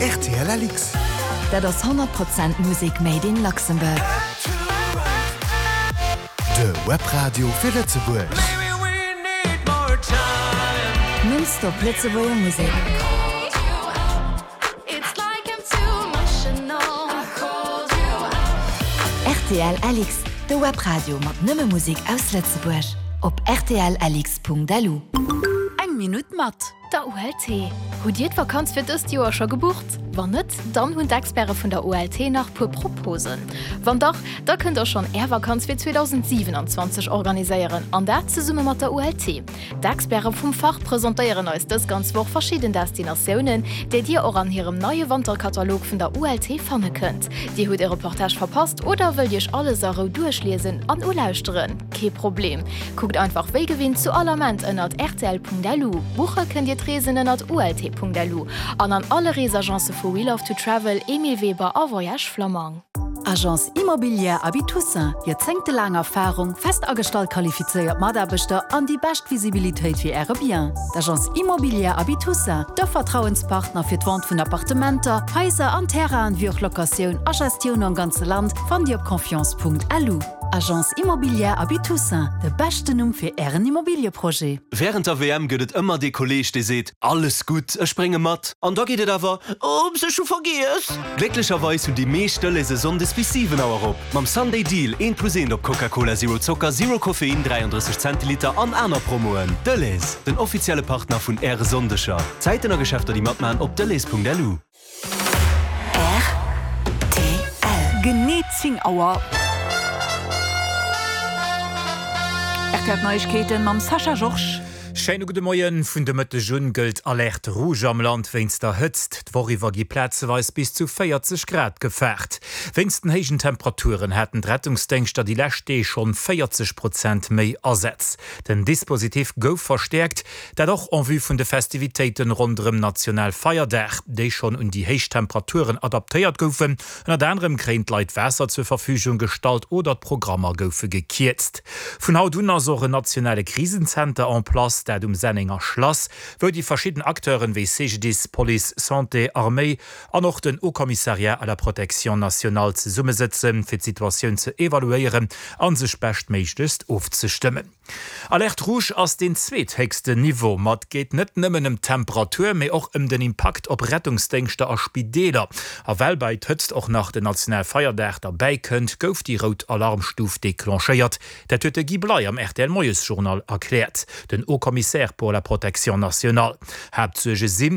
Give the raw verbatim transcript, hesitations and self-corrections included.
R T L L X. Dat ass honnert Prozent Musek made in Luxembourg. De Webradio fir Lëtzebuerg. Non-stop Lëtzebuerger Musek. It's like I'm too emotional. I called you R T L L X, de Webradio mat nëmme Musek aus Lëtzebuerg. Op R T L L X Punkt L U. Eng Minutt mat der U L T. Hutt Dir d'Vakanz fir dëst Joer scho gebucht? Wann net, dann hunn d'Experte vun der U L T nach puer Proposen. Wann dach, da kënnt der schonn Är Vakanz fir zweedausendsiwenanzwanzeg organiséieren an dat zesumme mat der U L T. D'Experte vum Fach presentéieren eis dës ganz Woch verschidden Destinatiounen, déi Dir och an hirem neie Wanterkatalog vun der U L T fanne kënnt. Dir hutt e Reportage verpasst oder wëllt Iech alles a Rou duerchliesen an ulauschteren? Kee Problem. Kuckt einfach wéi gewinnt zu all Ament ënnert R T L Punkt L U. Buche kënnt Dir d'Reesen ënnert U L T Punkt L U an an alle Reesagence vu We Love to Travel, Emile Weber a Voyage Flammang. Agence Immobilière Aby Toussaint, joerzéngtelaang Erfarung, fest agestallt qualifizéiert Mataarbechter an déi bescht Visibilitéit fir Äre Bien. D'Agence Immobilière Aby Toussaint, de Vertrauenspartner fir d'Vente vun Appartementer, Haiser an Terrainen, wéi och Locatioun a Gestioun am ganze Land, fannt Dir op confiance Punkt L U. Agence Immobilière Aby Toussaint, de beschten Numm fir Ären Immobilieprojet. Wärend der W M gëtt et ëmmer dee Kolleeg, dee seet, alles gutt, ech brénge mat. An da geet et awer, Ups, ech hu vergiess. Glécklecherweis hunn déi meescht Delhaize sonndes bis siwen Auer op. Mam Sunday Deal eent plus eent op Coca-Cola Zero Zocker, Zero Koffein, dräiandrësseg Zentiliter an aner Promoen. Delhaize, den offizielle Partner vun Äre Sonndeger. Zäiten a Geschäfter déi matmaachen op delhaize Punkt L U. R T L. Genee zéng Auer. R T L Neiegkeeten mam Sascha Georges. Schéine gudde Moien. Vun de Mëtteg un gëllt Alerte rouge am Land wéinst der Hëtzt. D'Woch iwwer gi plazeweis bis zu véierzeg Grad gefaart. Wéinst den héijen Temperaturen haten d'Rettungsdéngschter déi lescht Deeg schonn véierzeg Prozent méi Asätz. Den Dispositif gouf verstäerkt, dat och en vue vun de Festivitéiten ronderëm Nationalfeierdag, déi schonn un déi héich Temperaturen adaptéiert goufen. Ënnert anerem kréien d'Leit Waasser zur Verfügung gestallt oder d'Programmer goufe gekierzt. Vun haut un ass och en nationale Krisenzenter en place, dat um Sennenger Schlass, wou déi verschidden Acteuren wéi C G D I S, Police, Santé, Arméi an och den Haut Commissariat à la protection nationale zesummesëtzen, fir d'Situatioun ze evaluéieren an sech beschtméiglechst ofzestëmmen. Alerte rouge ass den zweethéchsten Niveau. Ma et geet net nëmmen ëm d'Temperatur, mee och ëm den Impakt op Rettungsdéngschter a Spideeler. A well bei d'Hëtzt och nach den Nationalfeierdag derbäi kënnt, gouf déi rout Alarmstuf declenchéiert. Dat huet de Guy Bley am R T L Moiesjournal erkläert. Den Haut Commissaire pour la protection nationale. Haaptsuerge sinn,